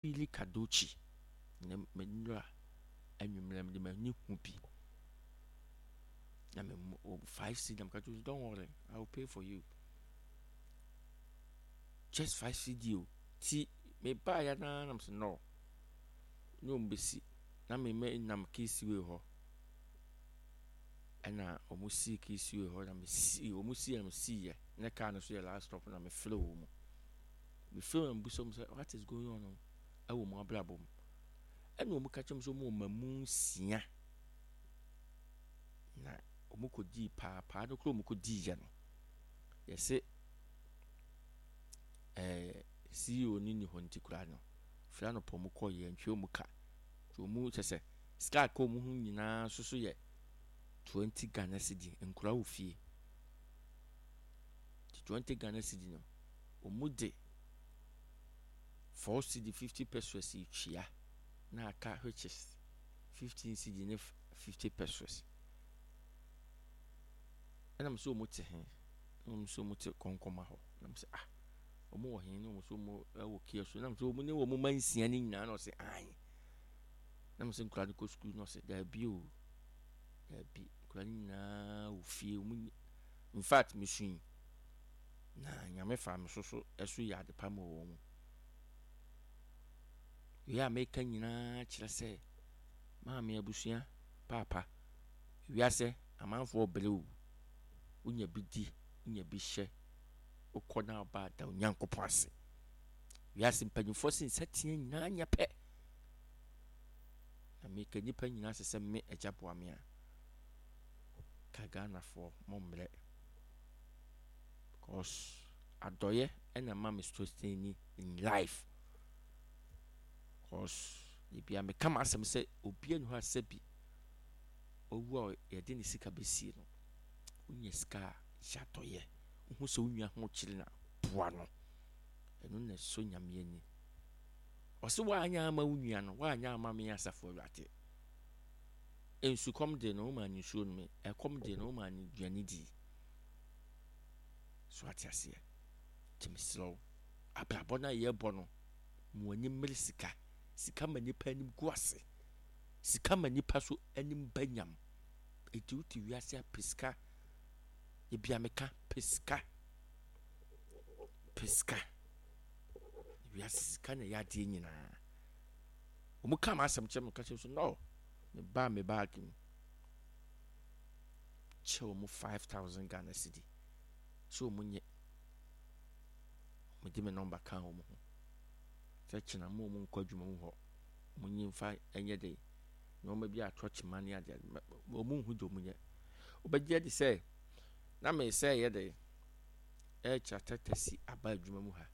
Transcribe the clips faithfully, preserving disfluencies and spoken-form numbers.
Fili Kadochi na m'anwura anwummerɛ mede m'ani hu bi na me five cedi na meka kyerɛ, "Don't worry, I will pay for you." Just five cedi o. Ti mebaa ya naa na mesɛ no ne ɔmo bɛsi na me me nam Kissiwee hɔ, ɛna ɔmo sii Kissiwee hɔ na mesi ɔmo sii na mesiiɛ ne car no so yɛ last stop na mefrɛ wɔ mu. Mefrɛ wɔn, bisa wɔn sɛ what is going on ɛwɔ mu abrabɔ mu, ɛna ɔmo ka kyerɛ me sɛ ɔmo wɔ mamu nsia na ɔmo kɔdii paapaa no koro. Ɔmo kɔdii yɛ no, yɛsɛ ɛɛ C E O no ni hɔ, nti koraa no fira no pɔ ɔmo kɔ yɛ ntwe ɔmo ka, nti ɔmo kyɛ sɛ sika aka ɔmo ho nyinaa nso so yɛ twenty Ghana cedi. Nkura wɔ fie, nti twenty Ghana cedi no, ɔmo de four cedi fifty pesewas twia na aka, which is fifteen cedi ne fifty pesewas. Ɛna mo sɛ ɔmo te he? Na ɔmo sɛ ɔmo te Kɔnkɔma hɔ. Na mo sɛ, ah, ɔmo wɔ he? Na ɔmo sɛ ɔmo ɛwɔ kia so. Na mo sɛ ɔmo ne ɔmo ma nsia ne nyinaa? Na ɔsɛ ae. Na mo sɛ nkura no kɔ sukuu? Na ɔsɛ daabi o, daabi, nkura no nyinaa wɔ fie. Ɔmo nyi. In fact, mesui na Nyame fa me so so ɛso yɛ ade pa ma wɔ mu. Wei a meka nyinaa kyerɛ sɛ maame, abusua, paapa, wiase amanfoɔ brɛ o. Wonya bi di, wonya bi hyɛ, wokɔ na ɔba, da Onyankopɔn ase. Wiase mpanyinfoɔ sɛ nsateɛ nyinaa nyɛ pɛ, na meka nnipa nyinaa sɛ sɛ me agya boa me a ka Ghanafoɔ mo mmerɛ, because adɔyɛ ɛna ma me sustain in life, because ebia meka ma asɛm sɛ obia ni hɔ a sɛ bi owu a yɛde ne sika bɛsie no. Wonya sika a, yɛ adɔyɛ. Wohu sɛ wo nua ho kyerɛ na boa no, ɛno na ɛsɔ Nyame ani. Ɔsɛ woanyɛ ama wo nua no, woanyɛ ama me Asafo Awurade. Nsukɔm de no, woma ne nsuo no, ɛkɔm de no, woma ne aduane di so. Ate aseɛ? Nti mesrɛ wo, abrabɔ no a yɛbɔ no, mo ani mmere sika. Sika ma nipa anim gu ase, sika ma nipa so anim ba nyam. Enti wote wiase a, pɛ sika. Ebia meka pɛ sika, pɛ sika. Wiase sika na ɛyɛ adeɛ nyinaa. Wɔn ka ma asɛm kyerɛ me, ka kyerɛ so no, me ba me baagi mu kyɛ wɔn five thousand Ghana cedi sɛ wɔn nyɛ. Wɔn de me number ka wɔn ho sɛ kyena mo wɔn nkɔ adwuma mu hɔ, wɔn nyi nfa nyɛ de nneɛma bi atɔ kyima ne adeɛ. Wɔn nhu deɛ wɔn nyɛ. Wɔbɛgye adi sɛ na me sɛ yɛ de ɛrekyɛ taxi aba adwuma mu ha.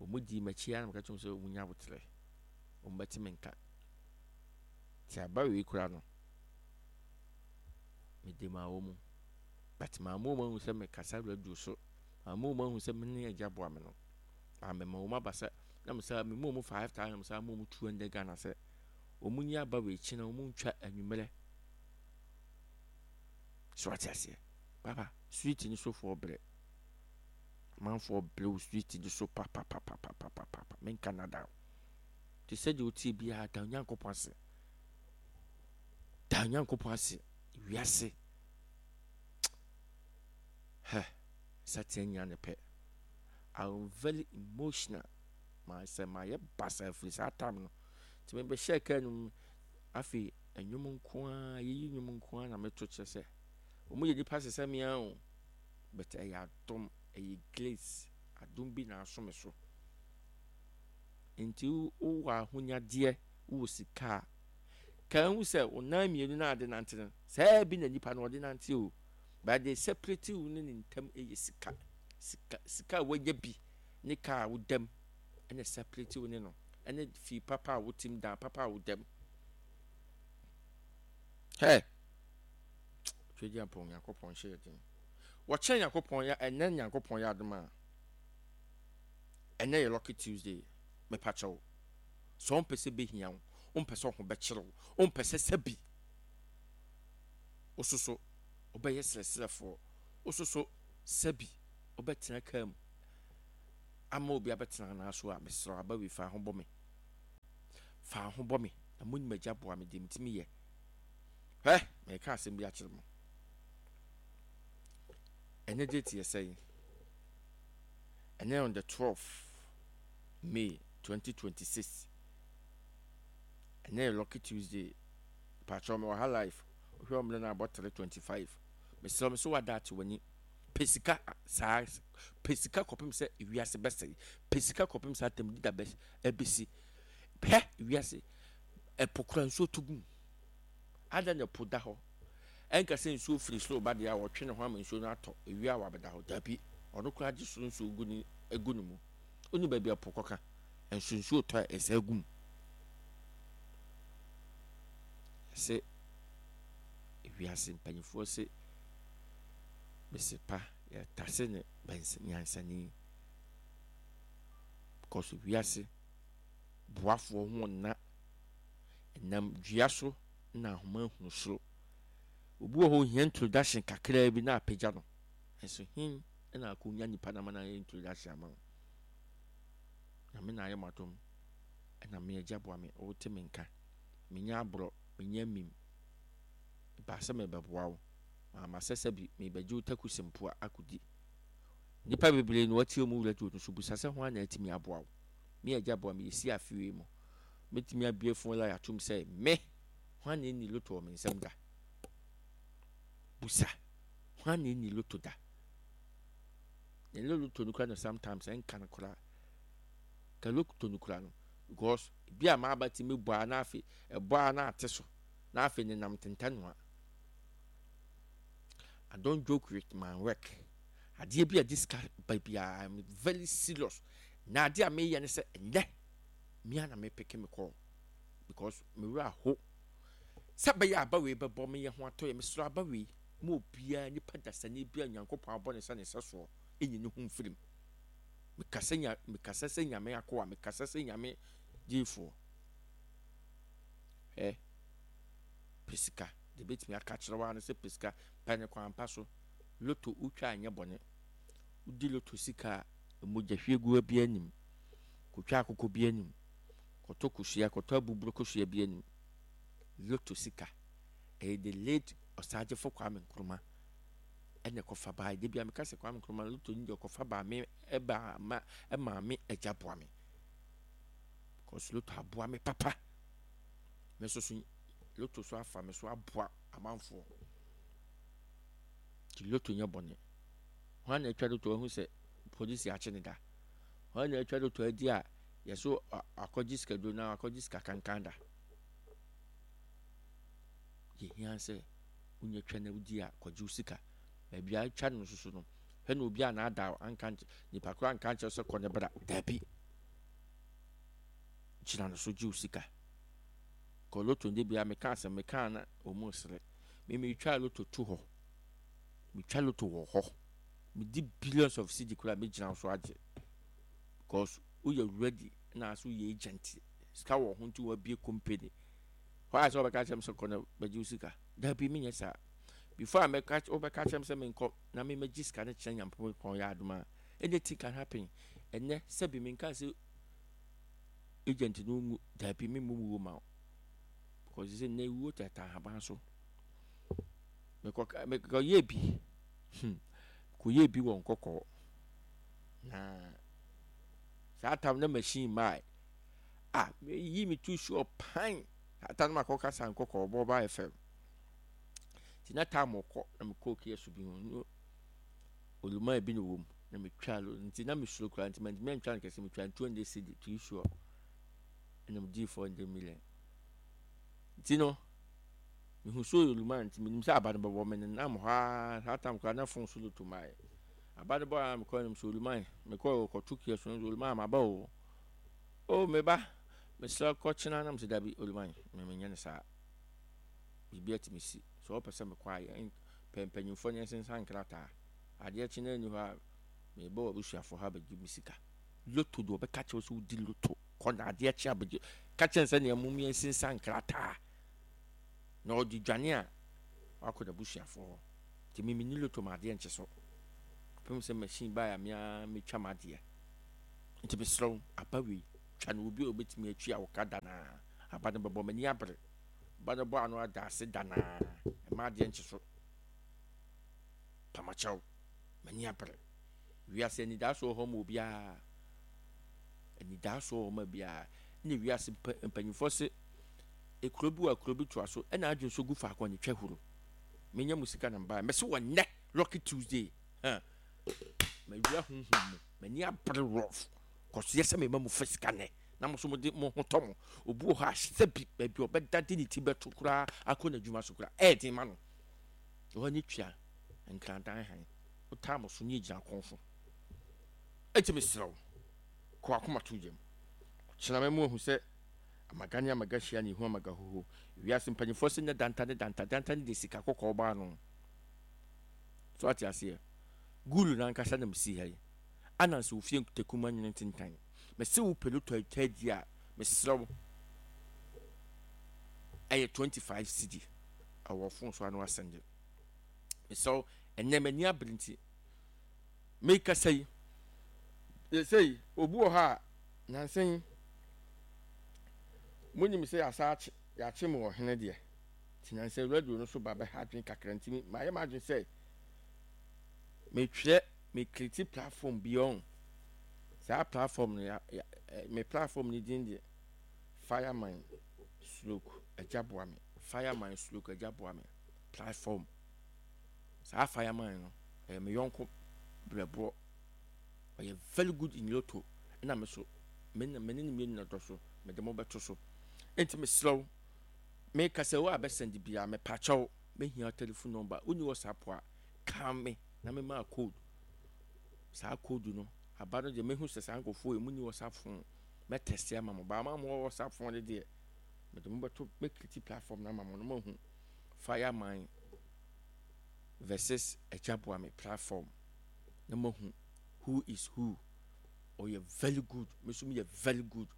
Wɔn di m'akyi ara na meka kyerɛ wɔn sɛ wɔn nya abotrɛ, wɔn bɛte me nka. Te aba wei kura no, mede maa wɔn mu, but maa mo wɔn ahu sɛ mekasa radio so, maa mo wɔn ahu sɛ me ne agya boa me no. Maa mema wɔn aba sɛ na mo sɛ me mu wɔn five thousand, mo sɛ mo wɔn two hundred Ghana sɛ wɔn nyi aba wei akyi na wɔn ntwa anwummerɛ so. Ate aseɛ? Papa, street ni sofoɔ brɛ, amanfoɔ brɛ wɔ street ni so papapapapapapa. Menka nada te sɛ deɛ wotie biara, da Onyankopɔn ase, da Onyankopɔn ase. Wiase hɛ sateɛ nyina ne pɛ. I'm very emotional. Maa sɛ mayɛ basa firi saa time no, nti mebɛhyɛ kaa no mu. Afei nnwom nko ara, yɛyi nnwom nko ara na meto kyerɛ sɛ wɔn yɛ nipa sɛ sɛ mmea o, but ɛyɛ adom, ɛyɛ grace, adom bi na aso me so. Nti wowɔ ahonyadeɛ, wowɔ sika a, ka ehu sɛ wo nan mmienu na ade nante no saa bi na nipa no ɔde nante o, but they separate wo ne ne ntam yɛ sika. Sika, sika a wanya bi ne kaa a wodam ɛna separate wo ne no, ɛne fie papa a wotim, dan papa a wodam. Hɛ, Twɛdi apɔn, Nyankopɔn hyɛ yɛ den. Wɔkyerɛ Nyankopɔn yɛ ɛnɛ. Nyankopɔn yɛ adom a, ɛnɛ yɛ Lucky Tuesday. Mepakyɛw, sɛ wompɛ sɛ bɛhia wo, wompɛ sɛ ɔho bɛkyerɛ wo, wompɛ sɛ sɛbi wososo wobɛyɛ serɛserɛfoɔ, wososo sɛbi wobɛtena kaa mu ama obi abɛtena anaa so a, mesrɛ aba wei fa ho bɔ me. Fa ho bɔ me na monim agya boa me deɛ metumi yɛ. Hwɛ, meka asɛm bi akyerɛ mo. Ɛnɛ date yɛ sɛn? Ɛnɛ on the twelve May twenty twenty-six. Ɛnɛ yɛ Lucky Tuesday. Patrɔ, me wɔ ha live. Wohwɛ ɔmmerɛ no abɔ three twenty-five. Mesrɛ me so wada ate w'ani. Pɛ sika saa, pɛ sika kɔpem sɛ ewiase bɛsɛe. Pɛ sika kɔpem sɛ atam dida bɛ ɛbɛsi. Pɛ ewiase ɛpo kora nsuo to gum. Ada na ɛpo da hɔ. Ɛnka sɛ nsuo firi soro ba deɛ a, wɔtwe ne ho ama nsuo no atɔ ewia a wabɛda hɔ. Dabi, ɔno koraa gye soro nsuo gu ne egu ne mu. Woni baabi a ɛpo kɔka nso nsuo tɔ a ɛsɛ gu mu. Sɛ ewiase mpanyinfoɔ sɛ bɛsɛ pa yɛtase ne bɛns nyansani because wiase boafoɔ ho nna ɛnam dua so na ahoma ehunu soro. Obi wɔ hɔ, ohia introduction kakraa bi na apagya no. Nso hin ɛna akɔnya nipa na ma na ayɛ introduction ama wo. Nyame na ayɛ mo adom ɛna me agya boa me. Wote me nka, menya aborɔ, menya mim baa sɛ mebɛboa wo. Maama sɛ sɛ bi mebɛgye wo takusi mpo a akɔdi nnipa bebree na watie mu radio no so. Busa sɛ ho ana atumi aboa wo. Me agya boa me, yɛsi afeewei mu mɛtumi abue phone line atom sɛ me ho ana ɛni lotto wɔ me nsɛm da. Busa ho ana ɛni lotto da. Ɛnyɛ lotto no kora no, sometimes ɛnka no koraa ka lotto no kora no, because bi a maaba tumi bɔ a na afei ɛbɔ a na ate so na afei nenam tentanoa. I don't joke with my work. Adeɛ bi a de sika ba biara, I'm very serious. Na adeɛ a meyɛ ne sɛ ɛnɛ mea na mepeke me kɔɔ because mewura ho sɛ bɛyɛ aba wei bɛbɔ meyɛ ho atɔ yɛ. Mesrɛ, aba wei ma obiara, nipa dasani bi a Nyankopɔn abɔ ne sɛ ne sɛ soɔ ɛnyi ne ho mfirim. Mekasa nya, mekasa sɛ Nyame akoa, mekasa sɛ Nyame gyeefoɔ. Ɛ pɛ sika de bɛtumi aka kyerɛ wa no sɛ pɛ sika, pɛ ne kwan pa so. Lotto wotwa anyɛ bɔne. Wodi lotto sika a, mogya hwie gu bi anim, kotwa akokɔ bi anim, kɔtɔ kosua, kɔtɔ abuburo kosua bi anim. Lotto sika ɛyɛ the late Ɔsagyefo Kwame Nkrumah ɛna ɛkɔfa baa. De bia meka sɛ Kwame Nkrumah lotto ni deɛ ɔkɔfa baa me, ɛbaa ma ɛmaa me agya boa me, because lotto aboa me papa. Me nso so lotto so afa me so aboa amanfoɔ. Nti lotto nyɛ bɔne. Hwan na atwa lotto ahu sɛ polisi akye ne da? Hwan na atwa lotto adi a yɛso akɔgye sikaduro na akɔgye sika kankan da? Yɛhia sɛ wonya twa na wodi a, kɔgye wo sika. Baabi a atwa no nso so no, hwɛ na obi a n'ada anka nipa koro anka nkyerɛ sɛ kɔ ne bra. Daabi, gyina no so gye wo sika. Kɔ lotto nde bia meka asɛm meka na ɔmu sere me. Metwa lotto to hɔ, metwa lotto wɔ hɔ, medi billions of cedi koraa, megyina so agye because woyɛ ready na so woyɛ agent, sika wɔ ho nti wabie company hɔ a sɛ wɔbɛka kyerɛ m sɛ kɔ na bɛgye wo sika. Daabi, menyɛ saa. Before a mɛka, wobɛka kyerɛ m sɛ menkɔ na memɛgye sika no kyerɛ Nyampɔn yɛ adom a, anything can happen. Ɛnɛ sɛbi menka sɛ agent no ngu. Daabi, memmɔ mu wo ma wo because sɛ nnɛ wuo tata ahaban so. Mekɔ mekɔyɛ bi, hmm kɔyɛ bi wɔ Nkɔkɔɔ na saa tam na machine maa a meyi me tu sure pan. Saa tam no makɔka sa Nkɔkɔɔ bɔ ɔba F M nti na tam kɔ na mekɔɔ kia so bi ho no olumaa bi na wɔ mu na metwa lo nti na mesuro koraa nti mantumi antwa no kɛse. Metwa two hundred cedi too sure ɛna medii four hundred million. Nti no mehu so yɛ olumaa nti menim sɛ aba no bɛbɔ me nenam hɔ a. Saa tam koraa na phone so lotto maaɛ aba no bɔ a, mekɔ anim sɛ olumaa mekɔ kɔto kia so no, olumaa maba o o meba, mesrɛ kɔkyena nam sɛ dabi, olumaa me menyɛ no saa. Biribi atumi si sɛ wɔpɛ sɛ mekɔ a, yɛn pɛ mpanyimfoɔ ne nsensan nkrataa. Adeɛ kye na ani hɔ a, mebɔ wɔ abusuafoɔ ha bɛgye me sika. Lotto deɛ, ɔbɛka kyerɛ sɛ wodi lotto kɔ na adeɛ kye abɛgye, ka kyerɛ sɛ nea mum yɛn nsensan nkrataa na ɔde dwane a wakɔ n'abusuafoɔ hɔ. Nti me menni lotto ma adeɛ nkye so pem sɛ machine baa a mea metwa m'adeɛ. Nti mesrɛ wo, aba wei twa no, obi a obɛtumi atwi a wɔka da naa Aba no bɛbɔ, m'ani abere. Aba no bɔ ano ada ase danaa. Ɛma adeɛ nkye so. Pamakyɛw, m'ani abere. Wiase anidasoɔ wɔ hɔ ma obiara. Anidasoɔ wɔ hɔ ma obiara. Ɛna wiase mpa mpanyinfoɔ se ekuro bi wɔ akuro bi toa so ɛna adwene so gu faako a ne twa huro. Menya mu sika na mbaeɛ. Mɛse wɔ nnɛ Lucky Tuesday. Huh. Mawura honhom mu. M'ani abere rough. Kɔso yɛ sɛ mema mu fa sika nnɛ. Na mo so mo de mo ho tɔ mo. Obi wɔ hɔ a sɛbi baabi ɔbɛda de ne ti bɛto koraa akɔ n'adwuma so koraa ɛyɛ den ma no. Ɛhɔ ne tua nkradan han. Wotaa mo so ne egyina kɔn so. Enti mesrɛ wo, kɔ w'akoma to yam. Ɔkyena mɛma wahu sɛ amaga ne amaga hyia na ehu amaga hoho. Wiase mpanyinfoɔ sɛ nyɛ danta ne danta, danta ne deɛ sika kɔkɔɔ baa no. So ate aseɛ? Gulu n'ankasa na mesi ha yi. Anansi wo fie ntakuma nwene ntentan. Mese wo pɛ lotto atwa a, mesrɛ wo. Ɛyɛ twenty-five cedi. Ɛwɔ phone so ano asɛnde. Mesrɛ wo, ɛnɛ m'ani abere nti. Mekasa yi, yɛsɛ obi wɔ hɔ a, nansa yi, monim sɛ yɛasa akye, yɛakye mu wɔ hene deɛ. Nti nansa radio no so ba bɛha adwene kakra nti mayɛ m'adwene sɛ metwerɛ me create platform bi ɔn. Saa platform no ya, ya, me platform no din deɛ Fireman Stroke Agya Boa Me. Fireman Stroke Agya Boa Me platform. Saa Fireman no ɛyɛ me yɔnko brɛboɔ. Ɔyɛ very good in lotto. Ɛna me so me ne me ne ne mmienu na dɔ so mede mo bɛto so. Enti mesrɛ wo meka sɛ wo a bɛsɛnde biara mepakyɛw mehia telephone number. Wonni WhatsApp a ka me na mema code. Saa code no aba no deɛ mehu sɛ saa nkurɔfoɔ yi mu ni WhatsApp phone mɛtɛste ama mo. Baama mo wɔ WhatsApp phone de deɛ mede mo bɛto mɛkriti platform no ama mo no mahu Fireman versus Agya Boa Me platform na mahu who is who. Ɔyɛ very good. Me nso meyɛ very good.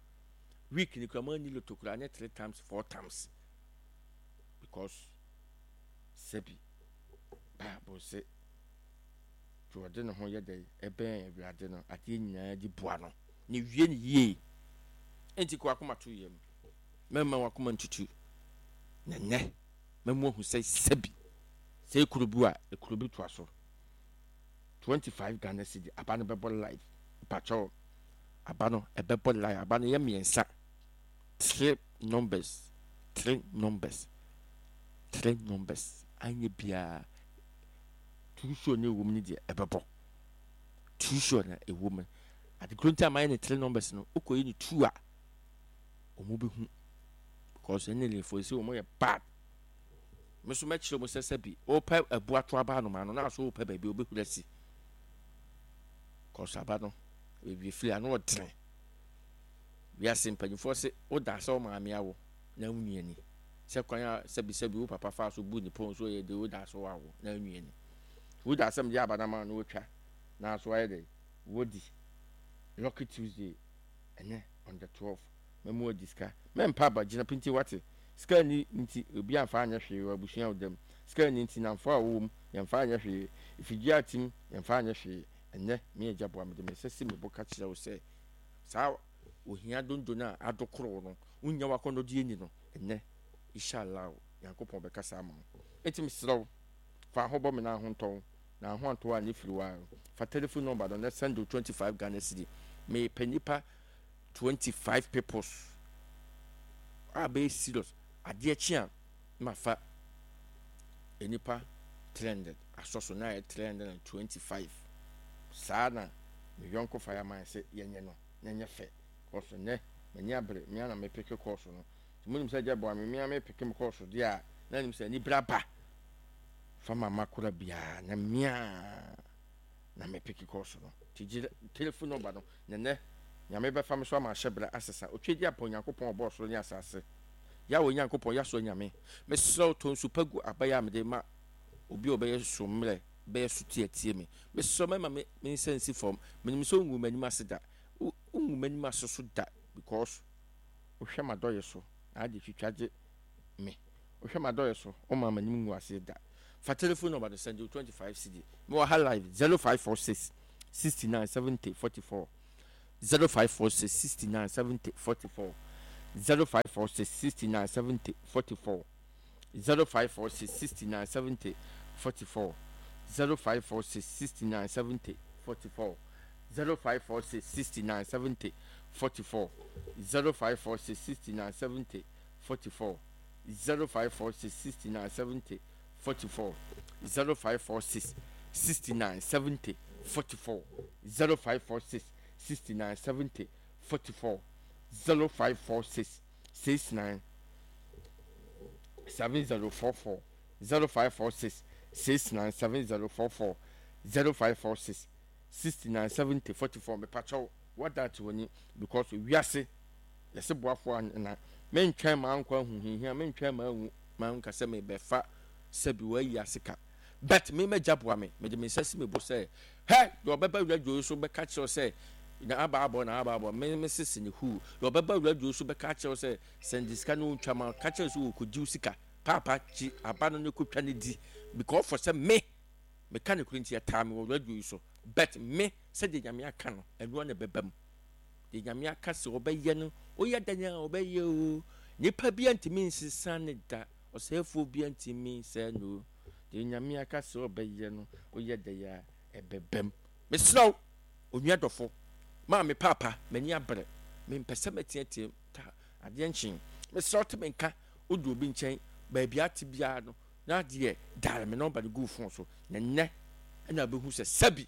Week ni kura mo ani lotto kura anyɛ three times four times because sɛbi Bible sɛ deɛ ɔde ne ho yɛ dɛ ɛbɛn Awurade no adeɛ nyinaa di boa no na wie ne yie. Enti kɔ akoma to yam, mɛma wakoma ntutu na nnɛ mɛmu ahu sɛ sɛbi sɛ ekuro bi a ekuro bi toa so twenty-five Ghana cedi aba no bɛbɔ live. Mpakyɛw aba no ɛbɛbɔ live. Aba no yɛ mmiɛnsa, three numbers, three numbers, three numbers. Anyɛ biara two sure na ɛwɔ mu no deɛ ɛbɛbɔ two sure na ɛwɔ mu. Adekoro nti a mayɛ ne three numbers no, wokɔyi ne two a wɔn bɛhu because ɛne lefo sɛ wɔn yɛ bad. Me nso mɛkyerɛ mu sɛ sɛbi wɔpɛ abu ato aba anoma no na so wɔpɛ baabi wɔbɛhuri asi kɔsɔ aba no baabi efiri ano ɔdene. Wiase mpanyinfoɔ sɛ woda sɛ wo maame awo na wo nua ni sɛ kwan a sɛbi sɛbi wo papa fa so bu ne pɔn so yɛ de woda so awo na wo nua ni woda asɛm de aba na ma no wotwa na so ayɛ dɛ wodi Lucky Tuesday ɛnɛ on the twelve mɛmu adi sika. Mɛmpa aba gyina pinti wate sika ni nti obi amfa anyɛ hwee wɔ abusua wo dam sika ni nti namfo a wɔwɔ mu yɛmfa anyɛ hwee efidie atim yɛmfa anyɛ hwee. Ɛnɛ me Agya Boa me de me nsa si me bo ka kyerɛ wo sɛ saa ohia dondo no a adokoro no wonya wakɔnnɔdeɛ ni no ɛnɛ inshallah Nyankopɔn bɛkasa ama wo. Enti mesrɛ wo fa ho bɔ me na ho ntɔn na ho antɔ a ne firi wa fa telephone number no na send wo twenty-five Ghana cedi. Mepɛ nipa twenty-five peoples a bɛyɛ serious. Adeɛ kye a ma fa nipa three hundred asɔ so na yɛ three hundred and twenty-five. Saa na me yɔnko Fireman sɛ yɛnyɛ no na nyɛ fɛ. Kɔso nɛ m'ani abere me ana mepeke kɔɔso no. Nti monim sɛ Agya Boa me me a mepeke me kɔɔso deɛ a na nim sɛ ani bere aba fa ma makora biara na mea na mepeke kɔɔso no. Nti gye telephone number no na nɛ Nyame bɛfa me so ama ahyɛ berɛ asesa. Otwe di apa Onyankopɔn ɔbɔɔ soro ne asase. Yahweh Nyankopɔn Yahsua Nyame, mesrɛ wo tɔ nsu pa gu aba yi a mede ma obi a ɔbɛyɛ so mmerɛ bɛyɛ so tie atie me. Mesrɛ wo mɛma me me nsa nsi fam. Menim sɛ wongu m'anim ase da. Wongu m'anim ase so da because wohwɛ m'adɔyɛ so na ade twitwa gye me. Wohwɛ m'adɔyɛ so woma m'anim ngu ase da. Fa telephone number no send wo twenty-five cedi. Mewɔ ha live zero five four six sixty-nine seventy forty-four zero five four six sixty-nine seventy forty-four. zero five four six sixty nine seventy forty four zero five four six sixty nine seventy forty four zero five four six sixty nine seventy forty four zero five four six sixty nine seventy forty four zero five four six sixty nine seventy forty four zero five four six sixty nine seventy forty four zero five four six sixty nine seventy forty four zero five four six sixty nine seventy forty four zero five four six six nine seven zero four four zero five four six six nine seven zero four four zero five four six sixty nine seventy forty four mepakyɛw wada ate w'ani because wiase yɛsɛ boafoɔ ana mentwɛn maa nkɔ ahuhihia mentwɛn maa nwu maa nka sɛ mebɛfa sɛbi wayi ase ka but me mɛgya boa me mede me nsa si me bo sɛ hɛ deɛ ɔbɛba radio so bɛka kyerɛw sɛ na aba abɔ na aba abɔ me me sisi ne hu deɛ ɔbɛba radio so bɛka kyerɛw sɛ sɛnde sika no ntwa ma ka kyerɛw sɛ wɔkɔgye sika paapa kyi aba no ne kɔtwa ne di because for sɛ me meka ne kuro nti ɛtaa me wɔ radio yi so but me sɛdeɛ nyame aka no ɛnoa na ɛbɛba mu deɛ nyame aka sɛ ɔbɛyɛ no woyɛ dan a ɔbɛyɛ o nipa bi ntumi nsesa ne da ɔsɛefoɔ bi ntumi nsɛ no deɛ nyame aka sɛ ɔbɛyɛ no woyɛ dan a ɛbɛba mu mesrɛ wo onua dɔfo maame paapa m'ani abere mempɛ sɛ mɛteatea ta adeɛ nkyen mesrɛ wo te me nka wode obi nkyɛn baabi ate biara no na adeɛ dare me nɔmba no gu phone so na nnɛ ɛna wobɛhu sɛ sɛbi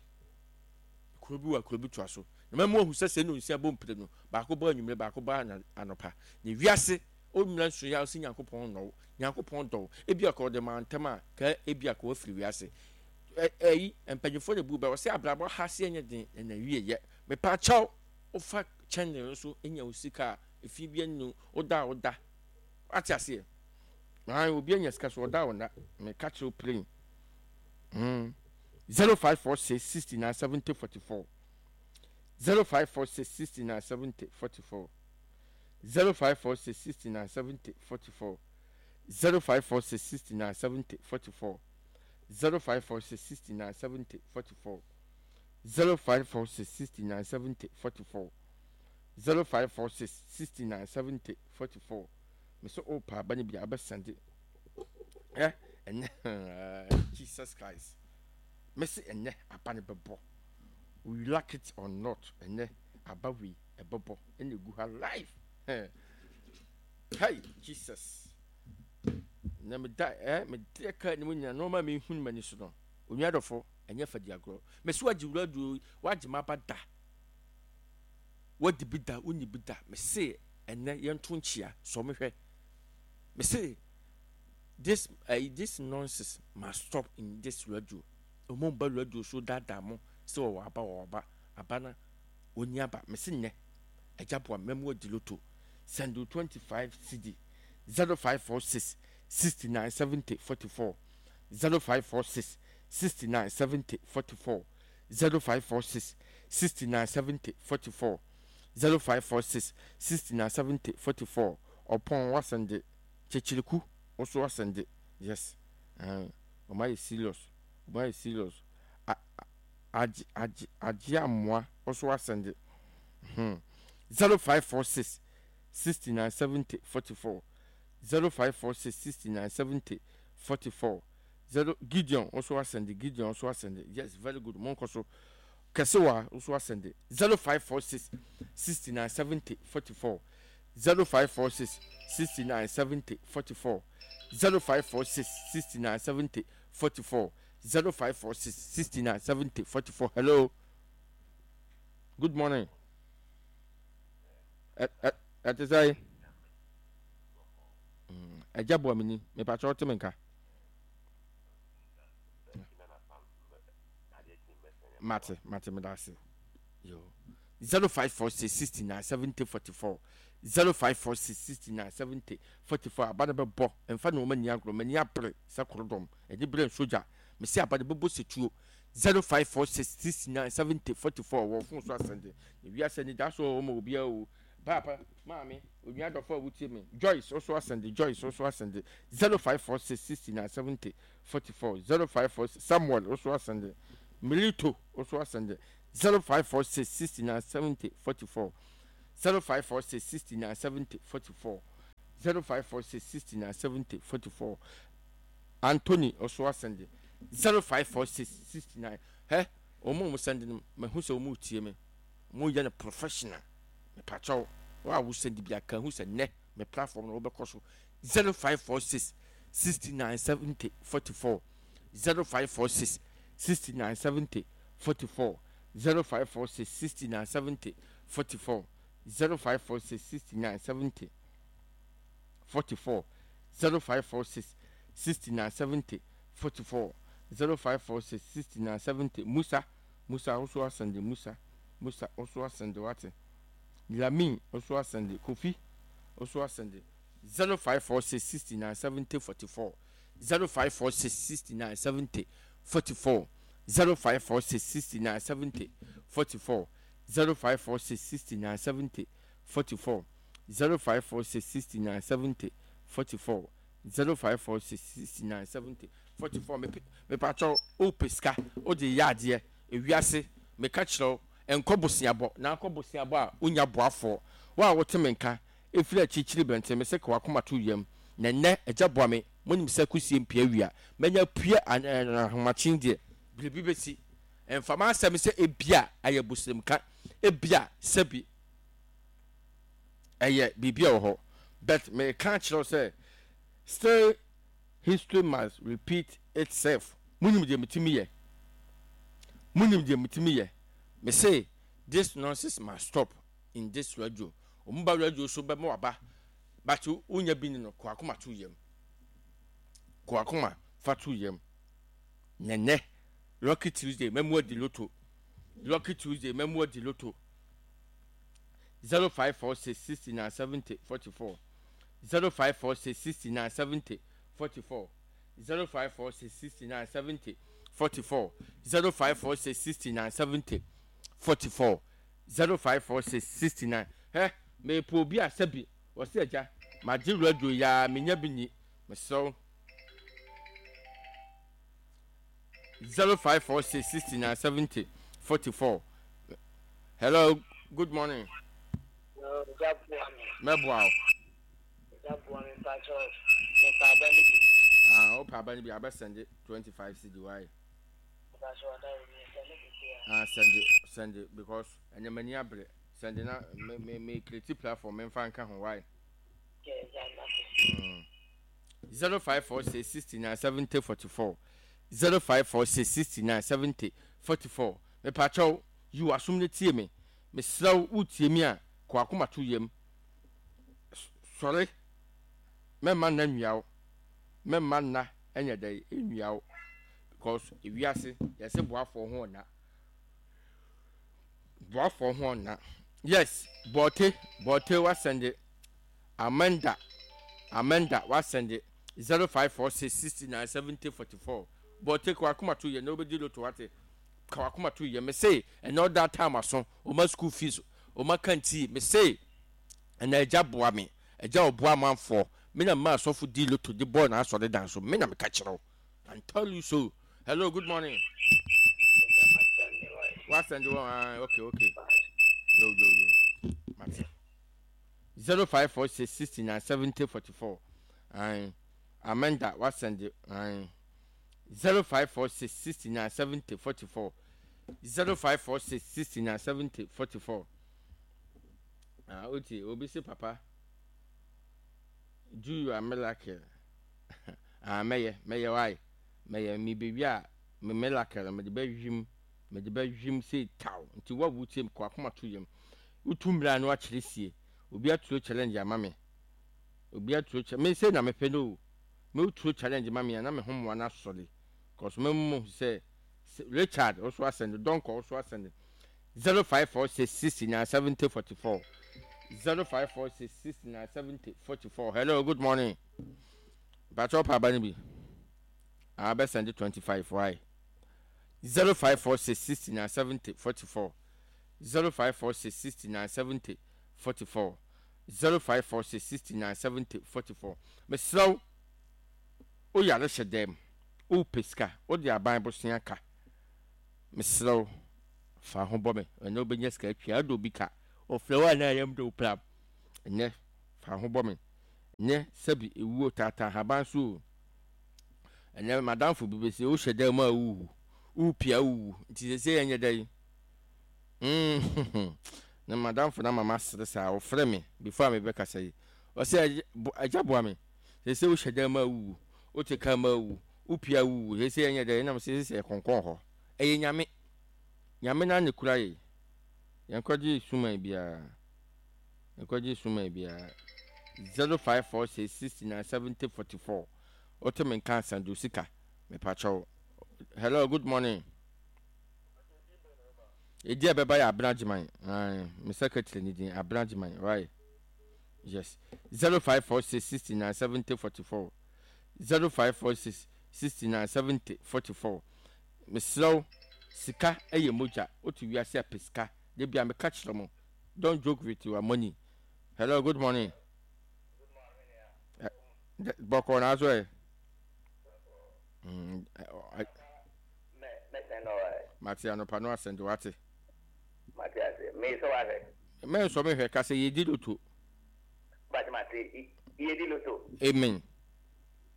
kuro bi wɔ kuro bi toa so na mɛmu ahu sɛ sɛ no nsia bɔ mpire no baako bɔ anwummerɛ baako bɔ anɔpa na wiase ɔmmira nso yɛ sɛ nyankopɔn nɔw nyankopɔn dɔw ebi aka ɔde ma ntɛm a ka ebi aka wafiri wiase ɛyi mpanyinfoɔ na bu bɛ wɔsɛ abrabɔ ha se ɛnyɛ den na na wie yɛ mepa kyɛw wofa kyɛnne no so enya wo sika a efi bi anu woda a woda ate aseɛ ayi obi anya sika so ɔda a ɔda meka kyerɛw plain mm zero five four six sixty nine seventy forty four zero five four six sixty nine seventy forty four zero five four six sixty nine seventy forty four zero five four six sixty nine seventy forty four zero five four six sixty nine seventy forty four zero five four six sixty nine seventy forty four zero five four six sixty nine seventy forty four mesɛ o pa aba no bi a abɛsɛnde ɛ ɛnɛ Jesus Christ mɛsɛ ɛnɛ aba no bɛbɔ we like it or not ɛnɛ aba wei ɛbɛbɔ ɛna egu ha live hey Jesus na meda ɛ mede ka ne mu nyina nneɛma a mehu no m'ani so no onua dɔfo ɛnyɛ fa di agorɔ mɛsi wagye wura duro wagye m'aba da wadi bi da wonni bi da mese ɛnɛ yɛnto nkyia sɔ mehwɛ mese this uh, this nonsense must stop in this radio ɔmo ba radio so daadaa mo sɛ wɔwɔ aba wɔwɔ aba aba na oni aba mese nnɛ agya boa mɛmu adi lotto send twenty five cedi zero five four six sixty nine seventy forty four zero five four six sixty nine seventy forty four zero five four six sixty nine seventy forty four zero five four six sixty nine seventy forty four ɔpɔn wasɛnde kyekyiriku woso wasɛnde yes ɛn ɔmo ayɛ serious ɔmo ayɛ serious a agye agye agye amoa woso wasɛnde hmm zero five four six sixty nine seventy forty four zero five four six sixty nine seventy forty four zero Gideon nso asɛnde Gideon nso asɛnde yes very good mo nkɔ so kɛsewa nso asɛnde zero five four six sixty nine seventy forty four zero five four six sixty nine seventy forty four zero five four six sixty nine seventy forty four zero five four six sixty nine seventy forty four hello good morning ɛ ɛ ɛte sɛ ɛgya boa mi ni mepakyɛ ɔte mi nka. Mate mate meda ase yo zero five four six sixty nine seventy forty four zero five four six sixty nine seventy forty four aba no bɛbɔ mfa na wɔn ani agorɔ m'ani abere sɛ korodɔm ɛde bere nsogya mesi aba no bɛbɔ setuo zero five four six sixty nine seventy forty four wɔ fon so asɛnde na wiase ani da so wɔ wɔn obiara o paapa maame onua dɔfo a wotie me Joyce ɔso asɛnde Joyce ɔso asɛnde zero five four six sixty nine seventy forty four zero five four six Samuel ɔso asɛnde Milito ɔso asɛnde zero five four six sixty nine seventy forty four zero five four six sixty nine seventy forty four zero five four six sixty nine seventy forty four Anthony ɔso asɛnde zero five four six sixty nine hɛ wɔn a wɔn sɛnde no mahu sɛ wɔn retie me wɔn yɛ no professional mepakyɛw wɔn a wɔsɛnde bi aka hu sɛ nnɛ me platform no wɔbɛkɔ so zero five four six sixty nine seventy forty four zero five four six sixty nine seventy forty four zero five four six sixty nine seventy forty four zero five four six sixty nine seventy forty four zero five four six sixty nine seventy forty four zero five four six sixty nine seventy Musa Musa ɔso asɛnde Musa Musa ɔso asɛnde wate Lamin ɔso asɛnde Kofi ɔso asɛnde zero five four six sixty nine seventy forty four zero five four six sixty nine seventy forty four zero five four six sixty nine seventy forty four zero five four six sixty nine seventy forty four zero five four six sixty nine seventy forty four zero five four six sixty nine seventy forty four mepakyɛw wopɛ sika wode yɛ adeɛ ewiase meka kyerɛ wo nkɔ boseabɔ na akɔ boseabɔ a wonya boafoɔ wo a wote me nka ɛfiri akyirikyiri bɛnten me sɛ ka wakoma to yam na nnɛ agya boa me monim sɛ kusie mpia wia manya pue ahomakyen deɛ biribi bɛsi ɛmfa m'asɛm sɛ ebia ayɛ bosremka ebia sɛbi ɛyɛ biribi a wɔ hɔ but meka kyerɛ wo sɛ still history must repeat itself munim deɛ metumi yɛ munim deɛ metumi yɛ me say this nonsense must stop in this radio ɔmo ba radio so bɛma waba but wonya bi ni no kɔ akoma to yam kɔ akoma fa to yam nɛnɛ lucky tuesday mɛmu adi lotto lucky tuesday mɛmu adi lotto zero five four six sixty nine seventy forty four zero five four six sixty nine seventy forty four zero five four six sixty nine seventy forty four zero five four six sixty nine seventy forty four zero five four six sixty nine hɛ mepɛ obi a sɛbi wɔsi agya magye radio yaa menya bi ni mesrɛw zero five four six sixty nine seventy forty four hello good morning mɛboa wo ah wopɛ aba no bi abɛsɛnde twenty five cedi wae ah sɛnde sɛnde because ɛnɛ m'ani abere sɛnde na me me me create platform memfa nka ho wae zero five four six sixty nine seventy forty four zero five four six sixty nine seventy forty four mepakyɛw yi w'asom no tie me mesrɛ wo wotie mi a kɔ akoma to yam sɔre mɛmma nna nwia wo mɛmma nna ɛnyɛ dɛ nwia wo because ewiase yɛsɛ boafoɔ ho ɔna boafoɔ ho ɔna yes bɔɔte bɔɔte wasɛnde amanda amanda wasɛnde zero five four six sixty nine seventy forty four bɔɔte kɔ akoma to yɛ na obedi lotto wate ka wakoma to yɛ mese ɛnɛ ɔda time aso ɔma school fees ɔma canteen mese ɛnɛ agya boa me agya ɔboa amanfoɔ me na mma asɔfo di lotto de bɔɔ n'asɔre dan so me na meka kyerɛ wo I tell you so hello good morning wasɛnde wɔn ah okay okay yo yo yo mate zero five four six sixty nine seventy forty four ayi amanda wasɛnde ayi zero five four six sixty nine seventy forty four zero five four six sixty nine seventy forty four ah oti obi si papa do your miracle ah mɛyɛ mɛyɛ wae mɛyɛ mi bewi a me miracle mede bɛhwim mede bɛhwim sei taw nti wa wu tie kɔ akoma to yam wotu mmira no akyerɛ sie obi aturo challenge ama me obi aturo challenge me sɛ na mepɛ no o me woturo challenge ma me a na me ho mmoa no asɔre cause me mu sɛ richard ɔso asɛnde dɔnkɔ ɔso asɛnde zero five four six sixty nine seventy forty four zero five four six sixty nine seventy forty four hello good morning bàtɛ ɔpa aba no bi abɛsɛnde twenty five why zero five four six sixty nine seventy forty four zero five four six sixty nine seventy forty four zero five four six sixty nine seventy forty four mesrɛw woyare hyɛ dɛm wopɛ sika wode aban bosea ka mesrɛw fa ho bɔ me ɛnɛ wobɛnya sika atwa ade obi ka Ɔfrɛ wo a na ayam de wo pram. Ɛnnɛ, fa ho bɔ me. Ɛnnɛ, sɛbi ewuo taataa ahaban so o. Ɛnnɛ, m'adamfo bi bɛse, wohyɛ dan mu a wowu, wopie a wowu, nti seesei ɛnyɛ dɛn? Mm, na m'adamfo no ama masere saa, ɔfrɛ me before a mebɛkasa yi. Ɔsɛ, agya boa me, seesei wohyɛ dan mu a wowu, wote kaa mu a wowu, wopie a wowu, seesei ɛnyɛ dɛn? Ɛna mese, seesei ɛkɔnkɔn hɔ. Ɛyɛ Nyame. Nyame no ara na ekura yɛn. Yɛnkɔgye suman biara. Yɛnkɔgye suman biara. Zero five four six sixty nine seventy forty four. Wote me nka asan do sika. Mepakyɛw. Hello, good morning. Edi a ɛbɛba yɛ Abena Gyeman. Aye, me secretary ni din Abena Gyeman. Right. Yes. Zero five four six sixty nine seventy forty four. Zero five four six sixty nine seventy forty four. Mesrɛ wo, sika yɛ mogya, wote wiase a pɛ sika, da bia meka kyerɛ mo, don't joke with your money. Hello, good morning. Bɔkɔ na aso ɛ. Mate anɔpa no asɛnde wate. Mate ase. Me sɔ wahwɛ. Mɛnsɔ me hwɛ ka sɛ yɛdi loto. But mate yɛdi loto. Amen.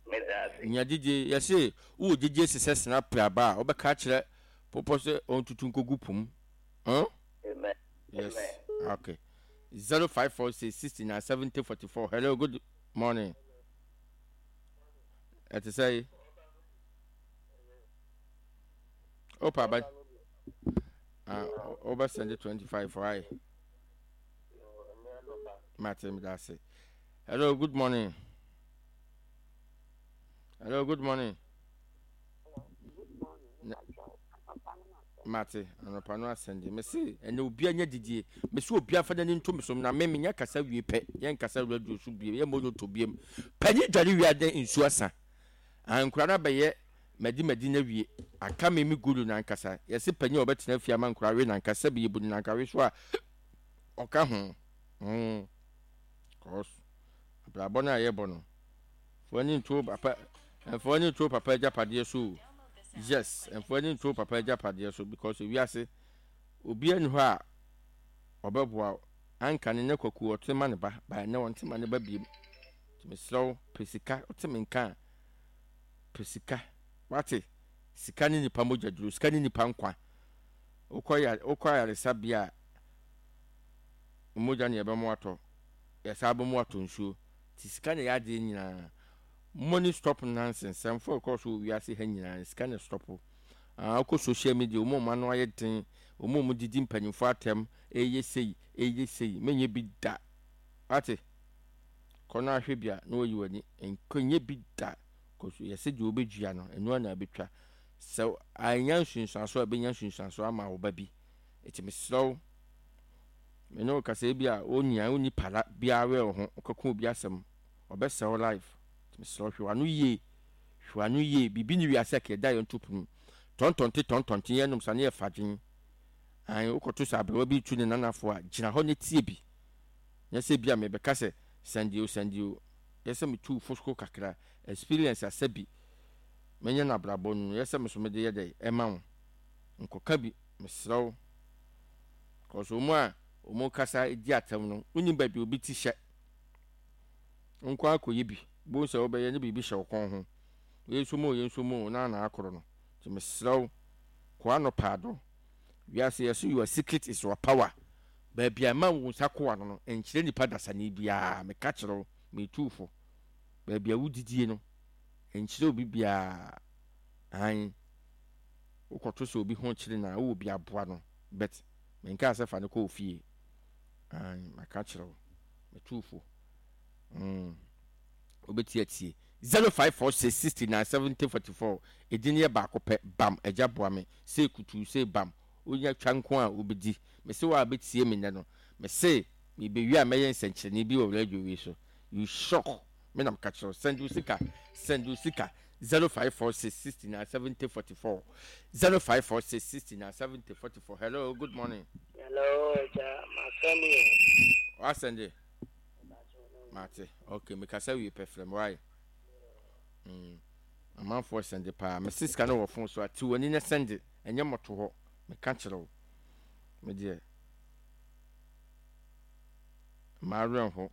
Meda ase. Nya gyedie, yɛse wowɔ gyedie sesɛ sena pere aba a, wobɛka akyerɛ popɔ sɛ ɔntutu nkɔgu po mu. Huh? Amen. Yes. Amen. Okay. Zero five four six sixty nine seventy forty four. Hello, good morning. Ɛte sɛ yi. Opa ba. Ah, wobɛ send twenty five why? Mate meda ase. Hello, good morning. Hello, good morning. Mate, anɔpa no asɛnde. Mese, ɛnɛ obi anya didie. Mese obi afa n'ani nto me so na me menya kasa wie pɛ. Yɛn kasa radio so biem, yɛn mmɔ loto biem. Panyin dware wie adan nsuo asa. Ankora no abɛyɛ madi madi na wie. Aka me me guru nankasa. Yɛse panyin a ɔbɛtena fie ama nkora we nankasa bi yɛbu no nankawe so a ɔka ho. Mm. Cause abrabɔ no a yɛbɔ no mfa w'ani nto papa mfa w'ani nto papa agyapadeɛ so o yes mfa w'ani nto papa agyapadeɛ so because ewiase obi ani hɔ a ɔbɛboa wo anka ne ne kwaku ɔte ma ne ba ba ɛnɛ ɔnte ma ne ba biem nti mesrɛ wo pɛ sika ɔte me nka a pɛ sika wate sika ne nipa mogya duro sika ne nipa nkwa wokɔ ya wokɔ ayaresabea a mogya ne yɛbɛmo atɔ yɛsan bɔ mu atɔ nsuo nti sika na ɛyɛ adeɛ nyinaa money stop nonsense sɛmfo ɛkɔ so wɔ wiase ha nyinaa sika na stop ah wokɔ social media wɔn a wɔn ano ayɛ den wɔn a wɔn didi mpanyinfoɔ atɛm ɛyɛ sei ɛyɛ sei menyɛ bi da ate kɔ no ahwɛ bi a na wɔyi w'ani nkɔnyɛ bi da kɔ so yɛsɛ deɛ wɔbɛdua no ɛno ana abɛtwa sɛ anya nsunsuanso a ɛbɛnya nsunsuanso ama wo ba bi ɛti mesrɛ wo Me ne wo kasa ebi a wo nyia wonni pala biara wɛ wo ho wokɔka obi asɛm ɔbɛsɛe wo life nti mesrɛ wo hwɛ w'ano yie hwɛ w'ano yie biribi ne wiase a kɛda yɛn to pono tɔntɔnte tɔntɔnte yɛn nom sa ne yɛ fadwen an wokɔto sɛ aberewa bi tu ne nanafo a gyina hɔ ne tie bi nyɛ sɛ bi a mebɛka sɛ sɛnde o sɛnde o yɛ sɛ metu fosco kakra experience asɛ bi menyɛ no abrabɔ no yɛ sɛ me so mede yɛ dɛ ɛma wo nkɔka bi mesrɛ wo Cause wɔn a wɔn kasa di atɛm no, wonim baabi obi ti hyɛ. Nko akɔyɛ bi, bohu sɛ wobɛyɛ ne biribi hyɛ wo kɔn ho. Yɛn nso mu o, yɛn nso mu o, na na akoro no. Nti mesrɛ wo, kɔ ano paado. Wiase yɛso your secret is your power. Baabi a ɛma wo nsa koa no no, nkyerɛ nipa dasani biara. Meka kyerɛ wo, metu fo. Baabi a wodidie no, nkyerɛ obi biara. Ae, wokɔto sɛ obi ho kyere no a, wowɔ bi aboa no. But menkaa sɛ fa no kɔ wo fie. Ae, maka kyerɛ wo. Metu fo. Mm. Wobɛti atie. zero five four six sixty nine seventy forty four. Edin yɛ baako pɛ. Bam. Agya boa me. Sei kutuu, sei bam. Wonya twa nko a wobɛdi. Mese wo a bɛtie me nnɛ no. Mese mebewie a mɛyɛ nsɛnkyerɛnne bi wɔ radio wei so. You shock. Me na meka kyerɛ wo. Send wo sika. Send wo sika. zero five four six sixty nine seventy forty four zero five four six sixty nine seventy forty four. Hello, good morning. Hello, Ẹja, ma send you. Wa send it? Mate. Okay, me kasa wie pɛ frɛ me why? Mm. Amanfoɔ send paa. Me sika no wɔ phone so ate w'ani na send. Ɛnyɛ mmɔto hɔ. Meka kyerɛ wo. Me deɛ. Mma werɛ nho.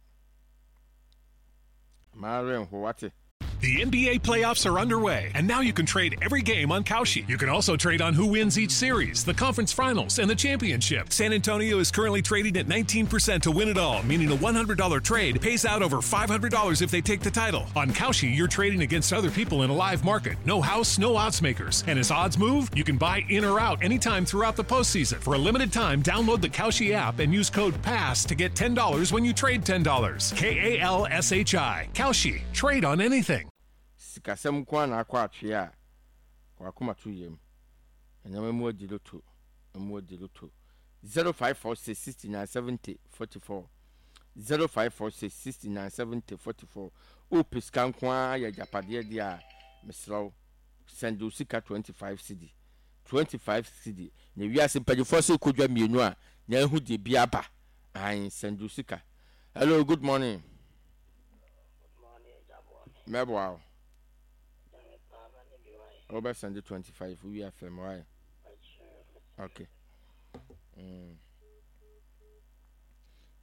Mma werɛ nho, wate? The N B A playoffs are underway, and now you can trade every game on Kalshi. You can also trade on who wins each series, the conference finals, and the championship. San Antonio is currently trading at nineteen percent to win it all, meaning a one hundred dollar trade pays out over five hundred dollars if they take the title. On Kalshi, you're trading against other people in a live market. No house, no odds makers. And as odds move, you can buy in or out anytime throughout the postseason. For a limited time, download the Kalshi app and use code PASS to get ten dollars when you trade ten dollars. K A L S H I. Kalshi. Trade on anything. Sikasɛm nko ara na akɔ atwea a wakoma to yam. Ɛnneɛma mu adi loto, mu adi loto. zero five four six sixty-nine seventy forty-four, zero five four six sixty-nine seventy forty-four. Wopɛ sika nko ara yɛ agyapadeɛ deɛ a, mesrɛ wo, send wo sika twenty-five cedi, twenty-five cedi. Na wiase mpanyinfoɔ sɛ kɔdwa mmienu a na ehu deɛ bi aba ahan. Send wo sika. Hello, good morning. Mɛboa wo. Wobɛsend twenty-five, wowie afrɛ me wae. Okay. mm.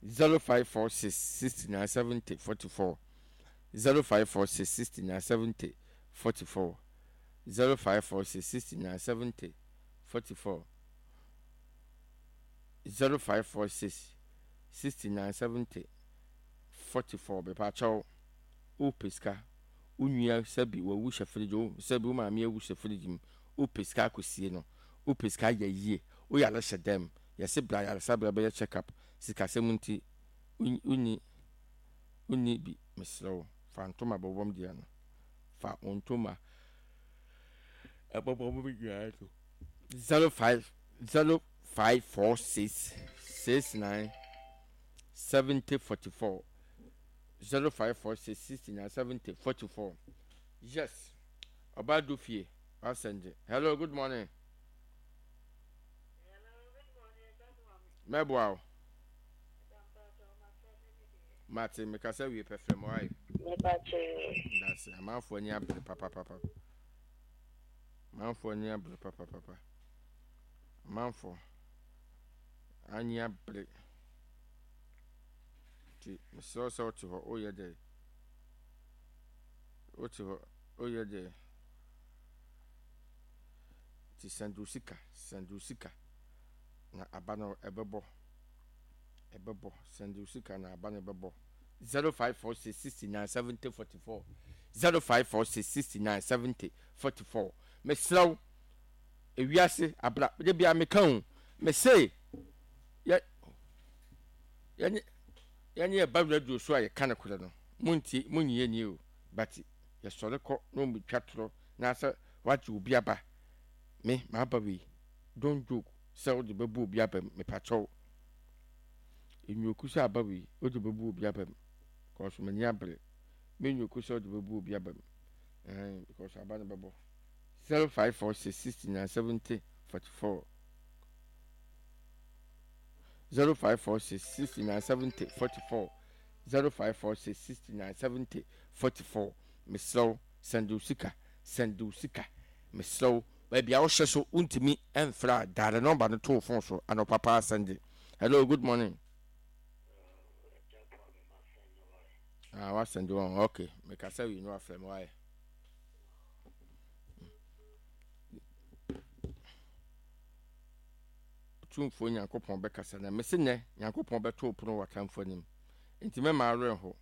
zero five four six sixty-nine seventy forty-four, zero five four six sixty-nine seventy forty-four, zero five four six sixty-nine seventy forty-four, zero five four six sixty-nine seventy forty-four. Bɛpa wopɛ sika, wo nua sɛbi wawu hyɛ fridge wo, sɛbi wo maame awu hyɛ fridge mu, wopɛ sika akɔsie no, wopɛ sika ayɛ yie, woyare hyɛ dɛm, yɛse bra yaresabea bɛyɛ check up, sikasɛm nti wonni wonni bi, mesrɛ wo, fa ntoma bɔbɔm deɛ no, fa wo ntoma ɛbɔbɔm deɛ no. zero five zero five four six six nine seventy forty four, zero five four six sixty nine seventy forty four. Yes, ɔbaa do fie asɛnde. Hello, good morning. Mɛboa wo. Mate, mekasa wie pɛfrɛ mo ayɛ. Ndase. Amanfoɔ ani abere papapapa, amanfoɔ ani abere papapapa, amanfoɔ ani abere. Nti mesrɛ wo sɛ wote hɔ woyɛ dɛ, wote hɔ woyɛ dɛ, nti send wo sika, send wo sika na aba no ɛbɛbɔ, ɛbɛbɔ. Send wo sika na aba no ɛbɛbɔ. zero five four six sixty-nine seventy forty-four, zero five four six sixty-nine seventy forty-four. Mesrɛ wo, ewiase abra de bia meka o, mese yɛ yɛne yɛne yɛba radio so a yɛka no korɛ no, montie, monyie nie o, but yɛsɔre kɔ na ɔmutwa torɔ na sɛ wagye obi aba. Me maaba wei, don't joke sɛ wode bɛbu obi aba mu. Mepakyɛw, nnwoku sɛ aba wei wode bɛbu obi aba mu, because m'ani abere. Me nnwoku sɛ wode bɛbu obi aba mu ɛhɛn, because aba no bɛbɔ. zero five four six sixty-nine seventy forty-four, zero five four six sixty-nine seventy forty-four, zero five four six sixty-nine seventy forty-four. Mesrɛ wo, send wo sika, send wo sika, mesrɛ wo. Baabi a wohyɛ so wontumi mfrɛ a, dial number no to wo phone so anɔpa paa, send. Hello, good morning. Ah, wasend wɔn. Okay, mekasa wi no afrɛ me wayɛ. Tumfoɔ Nyankopɔn bɛkasa na mese nnɛ Nyankopɔn bɛto pono wɔ atamfo anim, nti mɛma awerɛ ho.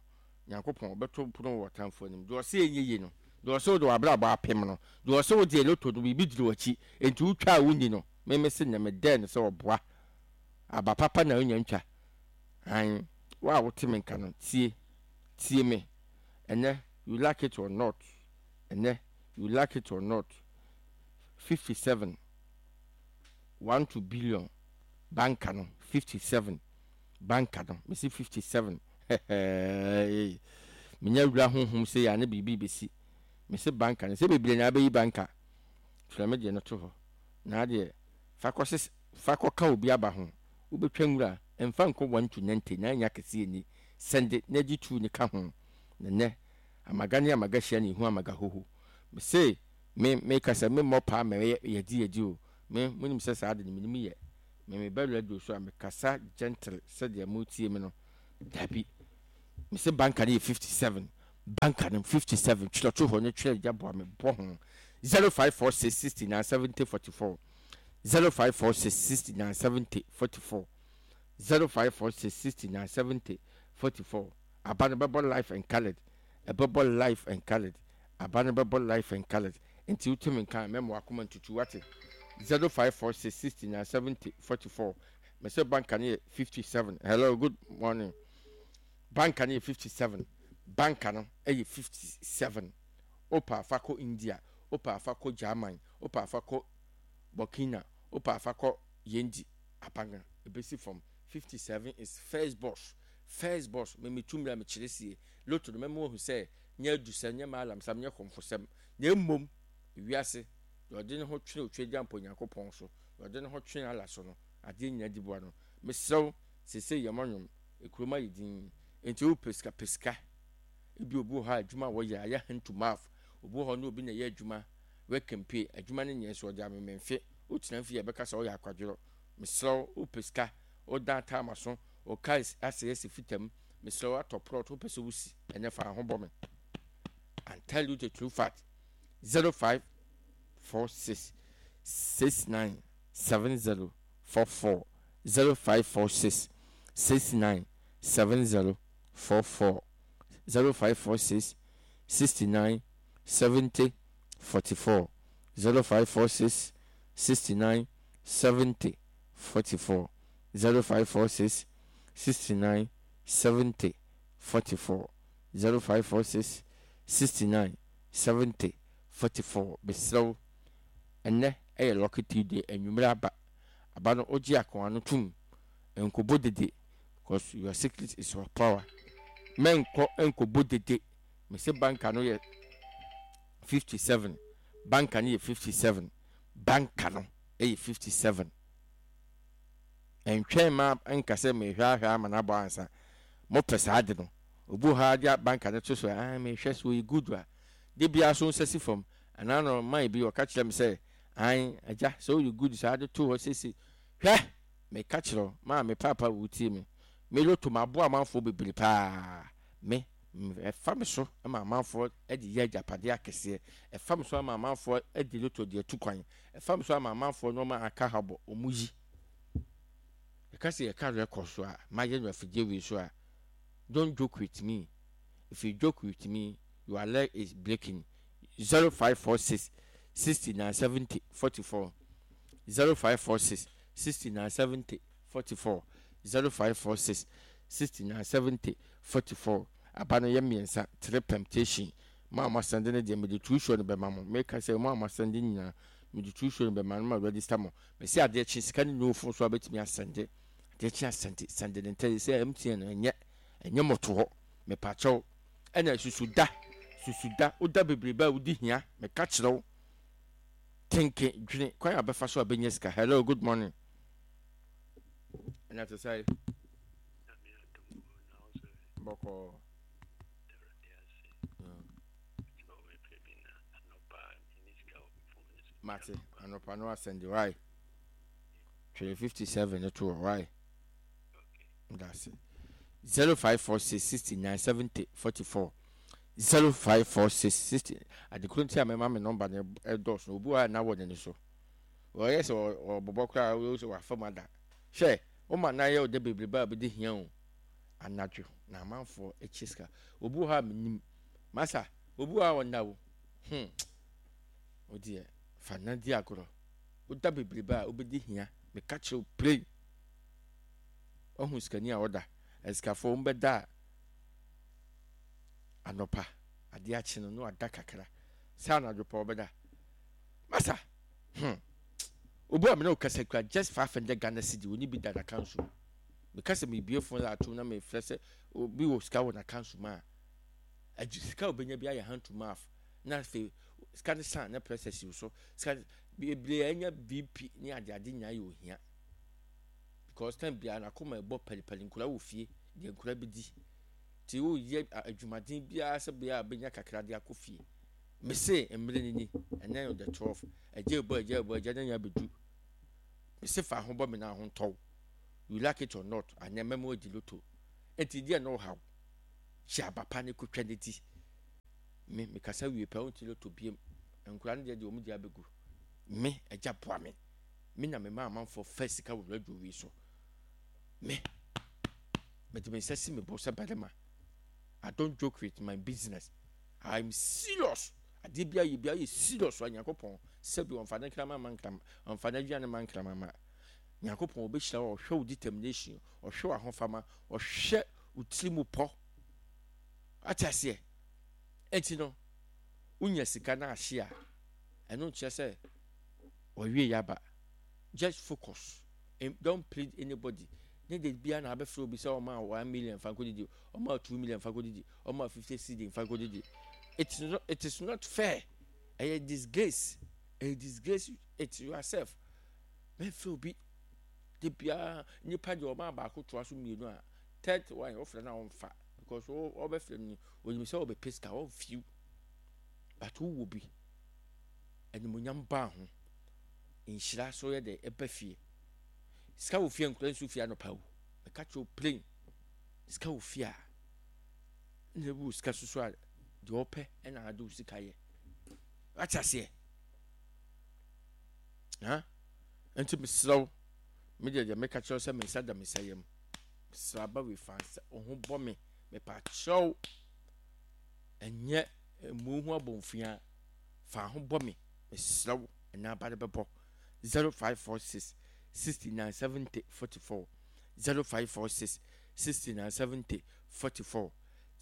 Nyankopɔn bɛto pono wɔ atamfo anim. Deɛ ɔsɛ ɛnyɛ yie no, deɛ ɔsɛ wode w'abrabɔ apem no, deɛ ɔsɛ wode loto no biribi diri w'akyi nti wotwa a wonni no, meme se nnɛ medɛɛ no sɛ ɔboa aba papa na wonya ntwa an. Wo a wote me nka no, tie, tie me ɛnɛ. You like it or not, ɛnɛ, you like it or not, fifty-seven one two billion banka no, fifty-seven banka no, mesi fifty-seven. Menya wura honhom sɛ yɛ a ne biribi bɛsi. Mese banka no sɛ bebree na abɛyi banka. Twerɛ me deɛ no to hɔ na adeɛ fa kɔ fa kɔka obi aba ho. Wobɛtwa nwura mfa nkɔ one to ninety na ɛnya kɛseɛ ni. Send na gye two ne ka ho. Na nɛ amaga ne amaga hyia ne ihu amaga hoho. Mese me meka sɛ memmɔ paa mɛyɛ yɛdi yɛdi o. Me monim sɛ saa de no menim yɛ. Me meba radio so a, mekasa gentle sɛdeɛ motie me no. Dabi, mese banka no yɛ fifty seven. Banka no fifty seven. Twerɛ to hɔ ne twerɛ gya boa me bɔ ho. Zero five four six sixty nine seventy forty four. Zero five four six sixty nine seventy forty four. Zero five four six sixty nine seventy forty four. Aba no bɛbɔ life and coloured. Ɛbɛbɔ life and coloured. Aba no bɛbɔ life and coloured. Nti wotumi nka mɛma wakoma ntutu wate. Zero five four six sixty nine seventy forty four. Mese banka no yɛ fifty seven. Hello, good morning. Banka no yɛ fifty seven. Banka no yɛ fifty seven. Wopɛ afa kɔ India, wopɛ afa kɔ German, wopɛ afa kɔ Burkina, wopɛ afa kɔ Yendi. Abanga ebesi fam. Fifty seven is first boss. First boss. Me metu mmira mekyerɛ sie. Lotto no mɛma wahu sɛ nyɛ adusɛm, nyɛ maalamsɛm, nyɛ kɔmfosɛm. Na mmom ewiase deɛ ɔde ne ho twene Otweagya mpo Onyankopɔn so, deɛ ɔde ne ho twene Allah so no, adeɛ nyinaa di boa no. Mesrɛ wo, seesei yɛmmɔ nnwom. Ekurom ayɛ dinn. Enti wopɛ sika, pɛ sika. Ebi obi wɔ hɔ a adwuma a wɔyɛ ayɛ hand to mouth. Obi wɔ hɔ ne obi na ɛyɛ adwuma, work and pay. Adwuma no nyɛ nso ɔde amememfe. Wotena fie a ɛbɛka sɛ woyɛ akwadworɔ. Mesrɛ wo, wopɛ sika, wodan taama so, wo car asɛe asi fitam. Mesrɛ wo, atɔ plot, wopɛ sɛ wosi, ɛnɛ fa ho bɔ me. And tell you the true fact. Zero five four six six nine seven zero four four zero five four six six nine seven zero four four zero five four six sixty nine seventy forty four zero five four six sixty nine seventy forty four zero five four six sixty nine seventy forty four zero five four six sixty nine seventy forty four. Mesrɛ wo, ɛnnɛ ɛyɛ lucky Tuesday, anwummerɛ aba aba no wogye akoa no tom nkɔbɔ dede because your secret is your power. Mɛnkɔ nkɔbɔ dede. Mese banka no yɛ fifty seven. Banka no yɛ fifty seven. Banka no yɛ fifty seven. Ɛntwɛn ma nka sɛ mehwɛ ahwɛ ama no abɔ ansa. Mopɛ saa de no, obi wɔ hɔ a de banka no to so a, ah, mehwɛ so ɔyɛ good a, de biara so nsa si fam. Anaa no man bi ɔka kyerɛ me sɛ, an agya sɛ woyɛ good saa de to hɔ sese. Hwɛ, meka kyerɛ wo, maa me paapa wotie me. Me lotto maboa amanfoɔ bebree paa. Me, ɛfa me so ma amanfoɔ de yɛ agyapadeɛ akɛseɛ. Ɛfa me so ama amanfoɔ de lotto de atu kwan. Ɛfa me so ama amanfoɔ nneɛma aka ha bɔ ɔmo yi. Ɛka sɛ yɛka record so a, mayɛ no afidie wei so a, don't joke with me. If you joke with me, your leg is breaking. Zero five four six sixty nine seventy forty four zero five four six sixty nine seventy forty four zero five four six sixty nine seventy forty four. Aba no yɛ mmiɛnsa, three permutation. Mo a mo asɛnde no deɛ, mede two show no bɛma mo. Meka sɛ mo a mo asɛnde nyinaa, mede two show no bɛma no ma register mo. Mesi adeɛ kye sika no nyɛ ofo so a bɛtumi asɛnde. Adeɛ kye asɛnde, sɛnde ne ntɛ sɛ M T N no ɛnyɛ ɛnyɛ mɔto hɔ. Mepakyɛw, ɛna susu da, susu da, woda bebrebe a wodi hia. Meka kyerɛ wo, tenke dwene kwan a bɛfa so a bɛnya sika. Hello, good morning. Ɛna te sɛ bɔkɔɔ. Mate, anɔpa no asɛnde wae. Twere fifty seven no to hɔ wae. That's it. Zero five four six sixty nine seventy forty four zero five four six sixty. Adekoro nti a mɛma me nɔmba no ɛdɔɔso. Obi wɔ a na wɔ n'ani so. Wɔyɛ sɛ ɔbɔbɔ koraa, wɔyɛ sɛ wafa mu ada. Hwɛ, wɔma nan yɛ ɔda bebrebe a bɛdi hia o. Anadwo na amanfoɔ akyi sika. Obi wɔ hɔ a menim. Masa, obi wɔ hɔ a ɔnda o. Hmm. O deɛ, fa na di agorɔ. Woda bebrebe a wobɛdi hia. Meka kyerɛ wo plain. Ɔhu sikani a ɔda. Asikafoɔ wɔn bɛda a anɔpa adeɛ akye no na wada kakra. Sɛ anadwo pa ɔbɛda. Masa, hmm. Obi a mene wo kasa kura just five hundred Ghana cedi oni bi da n'akanso mu. Meka sɛ mebie phone line atom na mefrɛ sɛ obi wɔ sika wɔ n'akanso mu a, agye sika a obenya bi ayɛ hand to mouth na afei sika no san na pressure si wo so. Sika bebree a anya B P ne ade ade nyinaa yɛ ohia. Because time biara n'akoma ɛbɔ pɛlipɛli, nkura wɔ fie deɛ nkura bi di. Nti woyɛ adwumaden biara sɛ bea a bɛnya kakra de akɔ fie. Mese mmerɛ ni ni, ɛnɛ yɛ the twelve. Agya ɛbɔ, agya ɛbɔ, agya no nya bɛdu. Mese fa ho bɔ me na ho ntɔw. You like it or not, anyɛ mɛmo adi lotto. Enti deɛ na ɔhaw hyɛ aba pa ne kotwa ne ti. Me mekasa wie pɛ wonte lotto biem. Nkora no deɛ deɛ wɔn de abɛgu. Me agya boa me. Me na mema amanfoɔ fa sika wɔ radio wei so. Me mede me nsa si me bo sɛ barima. I don't joke with my business. I'm serious. Adeɛ bi ayɛ bi ayɛ serious a Nyankopɔn sɛbi ɔmfa ne nkrama ma nkrama ɔmfa n'aduane ma nkrama ma. Nyankopɔn ɔbɛhyira wo, ɔhwɛ wo determination, ɔhwɛ w'ahofama, ɔhwɛ wo tiri mu pɔ. Ate aseɛ? Enti no, wonya sika no ahye a, ɛno nkyerɛ sɛ wɔawie yaba. Just focus. Don't plead anybody. Ne de bia na abɛfrɛ obi sɛ ɔma one million fa nkɔdidi, ɔma two million fa nkɔdidi, ɔma fifty cedi fa nkɔdidi. It is not, it is not fair. Ɛyɛ disgrace. Ɛyɛ disgrace it yourself. Mɛfrɛ obi. De biara nipa deɛ ɔma baako toa so mmienu a third one ɔfrɛ no a ɔmfa because ɔbɛfrɛ no onim sɛ ɔbɛpɛ sika ɔmfiw but wowɔ bi animonyam baa ho nhyira so yɛ dɛ ɛba fie sika wɔ fie nkura nsu fie anɔpa wo mɛka kyerɛ plain sika wɔ fie a na ewu sika soso a deɛ ɔpɛ ɛna ade wo sika yɛ wate aseɛ ha nti mesrɛ wo me deɛ deɛ meka kyerɛ sɛ me nsa da me nsa yam mesrɛ aba wei fa nsa wo ho bɔ me mepa kyerɛw ɛnyɛ emu ho abɔnfia fa ho bɔ me mesrɛ wo ɛna aba de bɛbɔ zero five four six sixty nine seventy forty four zero five four six sixty nine seventy forty four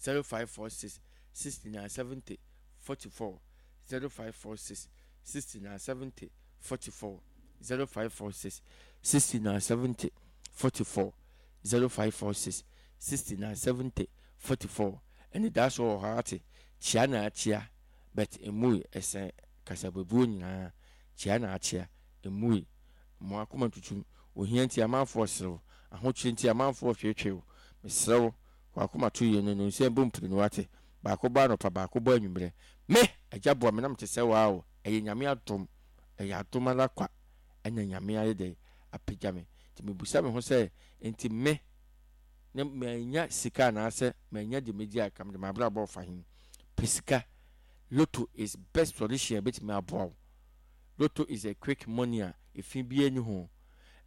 zero five four six sixty nine seventy forty four zero five four six sixty nine seventy forty four zero five four six sixty nine seventy forty four zero five four six sixty nine seventy forty four ɛne daa so wɔ hɔ ate kyia na akyia but emui ɛsɛn kasabebuo nyinaa kyia na akyia emui mo akoma tutum ohia nti amanfoɔ serew ahokyere nti amanfoɔ hwehwɛw mesrɛw wakoma to yie no no nsɛm bɔ mpiri no wate baako bɔ anɔpa baako bɔ anwummerɛ me agya boa me nam te sɛ waa o ɛyɛ nyame adom ɛyɛ adom ara kwa ɛna nyame ayɛ dɛ apagya me nti mebusa me ho sɛ nti me ne manya sika anaasɛ manya de megye a kam de mabrabɔ ɔfa he pɛ sika. Lotto is best solution a ɛbɛtumi aboa wo. Lotto is a quick money a efi biara ni ho.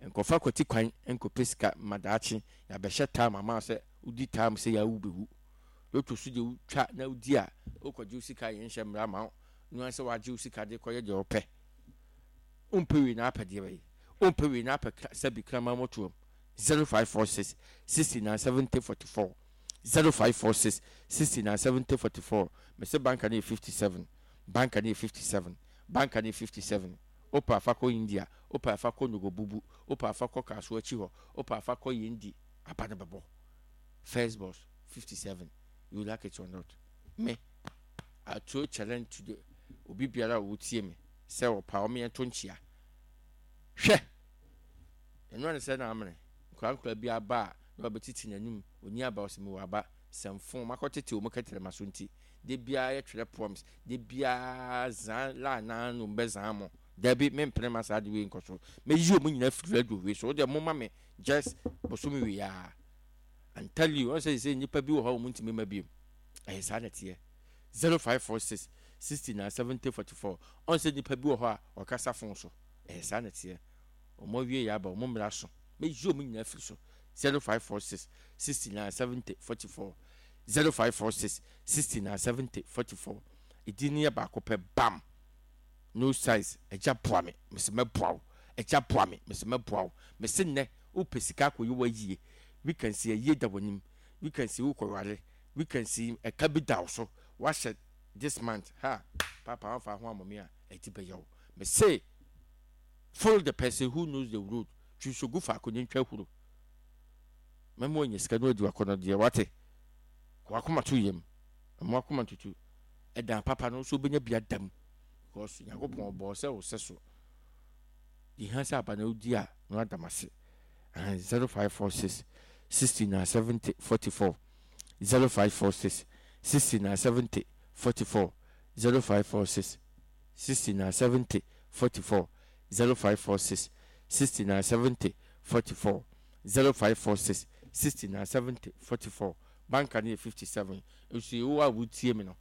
Nkɔfa kwati kwan nkɔpɛ sika ma daakye yɛabɛhyɛ time ama sɛ wodi time sɛ yɛawu bɛwu. Lotto so deɛ wotwa na wodi a wokɔgye wo sika yɛnhyɛ mmara ma wo no sɛ wagye wo sika de kɔyɛ deɛ wopɛ. Wompɛ wei na apɛ deɛ bɛyɛ. Wompɛ wei na apɛ sɛbi kraman motoam. zero five four six sixty nine seventy forty four zero five four six sixty nine seventy forty four. Mese banka no yɛ fifty seven, banka no yɛ fifty seven, banka no yɛ fifty seven. Wopɛ afa kɔ India, wopɛ afa kɔ Nogobubu, wopɛ afa kɔ Kasoa akyi hɔ, wopɛ afa kɔ Yendi, aba no bɛbɔ. First boss fifty seven, you like it or not. Me, I throw challenge to the obi biara a wotie me sɛ ɔpa ɔmo yɛn to nkyia. Hwɛ! Ɛno ne sɛ na amene nkora nkora bi aba a na wabɛtiti n'anim ɔni aba ɔsɛ mewɔ aba sɛmfo makɔtete wɔn kɛtɛrɛma so nti de biara yɛtwerɛ poems de biara zan la naa no bɛzan mo dabi mempene ma saa de wei nkɔ so mɛyi wɔn nyinaa firi radio wei so wodeɛ moma me just bosome wei a I'm telling you wɔn sɛ sɛ nnipa bi wɔ hɔ a wɔn ntumi ma biom ɛyɛ saa na teɛ zero five four six sixty nine seventy forty four ɔn sɛ nnipa bi wɔ hɔ a wɔkasa phone so ɛyɛ saa na teɛ wɔn awie yɛ aba wɔn mmara so mɛyi wɔn nyinaa firi so zero five four six sixty nine seventy forty four zero five four six sixty nine seventy forty four edi ne yɛ baako pɛ bam no size ɛgya boa me mesi mɛboa wo ɛgya boa me mesi mɛboa wo mesi nnɛ wopɛ sika akɔyɛ wayie weekend si ayie da w'anim weekend si wokɔware weekend si ɛka bi da wo so wahyɛ this month ha papa wamfa ho amɔ me a ɛti bɛyɛ wo mese follow the person who knows the road twi gu faako ne ntwa huro mɛma ɔnya sika no adi wakɔnɔ deɛ wate wakoma to yam ɛmo akoma tutu ɛdan papa no nso wobɛnya bi adam because nyankopɔn ɔbɔɔ sɛ wo sɛ so yɛhia sɛ aba na wodi a na wadam ase zero five four six sixty nine seventy forty four zero five four six sixty nine seventy forty four zero five four six sixty nine seventy forty four zero five four six sixty nine seventy forty four zero five four six sixty nine seventy forty four. Banka no yɛ fifty seven. Nso wo a wotie me no,